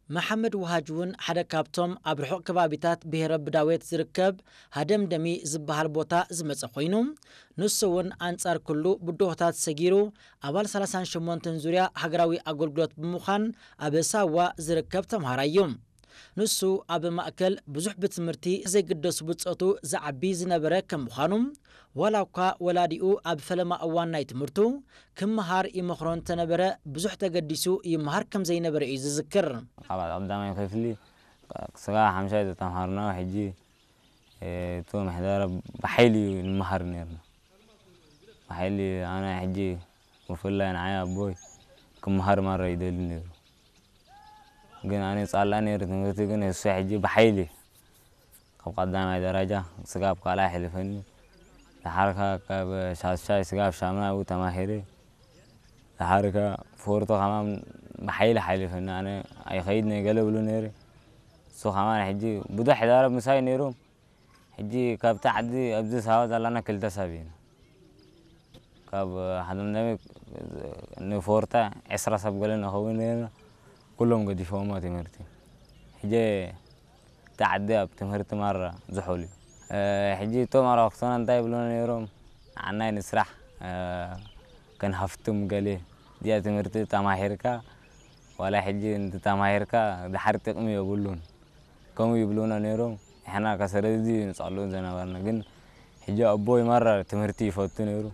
መሓመድ ውሃጅ እውን ሓደ ካብቶም ኣብ ርሑቕ ከባቢታት ብሄረ ብዳዌት ዝርከብ ሃደምደሚ ዝበሃል ቦታ ዝመጸ ኮይኑ፣ ንሱ እውን ኣንጻር ኩሉ ብድሆታት ሰጊሩ ኣባል ሰላሳን ሸሞንተን ዙርያ ሃገራዊ ኣገልግሎት ብምዃን ኣብ ሳዋ ዝርከብ ተምሃራይ እዩ። ንሱ ኣብ ማእከል ብዙሕ ብትምህርቲ ዘይግደሱ ብጾቱ ዝዓቢ ዝነበረ ከም ምዃኑ፣ ዋላ እኳ ወላዲኡ ኣብ ፈለማ እዋን ናይ ትምህርቱ ክመሃር ይመኽሮ እንተነበረ፣ ብዙሕ ተገዲሱ ይመሃር ከም ዘይነበረ እዩ ዝዝክር። ካብ ቀዳማይ ክፍሊ ስጋ ሓምሻይ ዝተምሃርና ሕጂ፣ እ፣ እቶም ምሕደራ ብሓይሊ እዩ ንምሃር ነርና። ብሓይሊ ኣነ ሕጂ ብፍላይ ንዓይ ኣቦይ ክመሃር ማራ ይደሊ ነይሩ። ግን ኣነ ጻላ ነይሩ ትምህርቲ፣ ግን እሱ ሕጂ ብሓይሊ ካብ ቀዳማይ ደረጃ ስጋብ ካልኣይ ኣሕሊፈኒ። ደሓርካ ካብ ሻሻይ ስጋብ ሻምናይ ኣብኡ ተማሂረ። ደሓርካ ፎርቶ ከማን ብሓይሊ ሓሊፈኒ። ኣነ ኣይኸይድ ነይ ገለ ብሉ ነይረ። እሱ ከማን ሕጂ ብዙሕ ሕዳረ ምሳይ ነይሩ። ሕጂ ካብቲ ዓዲ ኣብዚ ሳዋ ዘለና ክልተ ሰብ ኢና። ካብ ሓደ ንፎርታ ዕስራ ሰብ ገለ ንኸውን ነርና። ኩሎም ገዲፎሞ ትምህርቲ። ሕጂ እቲ ዓዲ ኣብ ትምህርቲ ማራ ዝሑል እዩ። እ፣ ሕጂ እቶም ኣርባዕቶና እንታይ ይብሉና ነይሮም? ንዓናይ ንስራሕ፣ እ፣ ከንሃፍትም ገለ። እዚኣ ትምህርቲ ተማሂርካ፣ ዋላ ሕጂ እንተተማሂርካ ድሓር ጥቕሚ የብሉን። ከምኡ ይብሉና ነይሮም። ንሕና ከ ስለዚ ንጸልኡ ዝነበርና። ግን ሕጂ ኣቦይ ማራ ትምህርቲ ይፈቱ ነይሩ።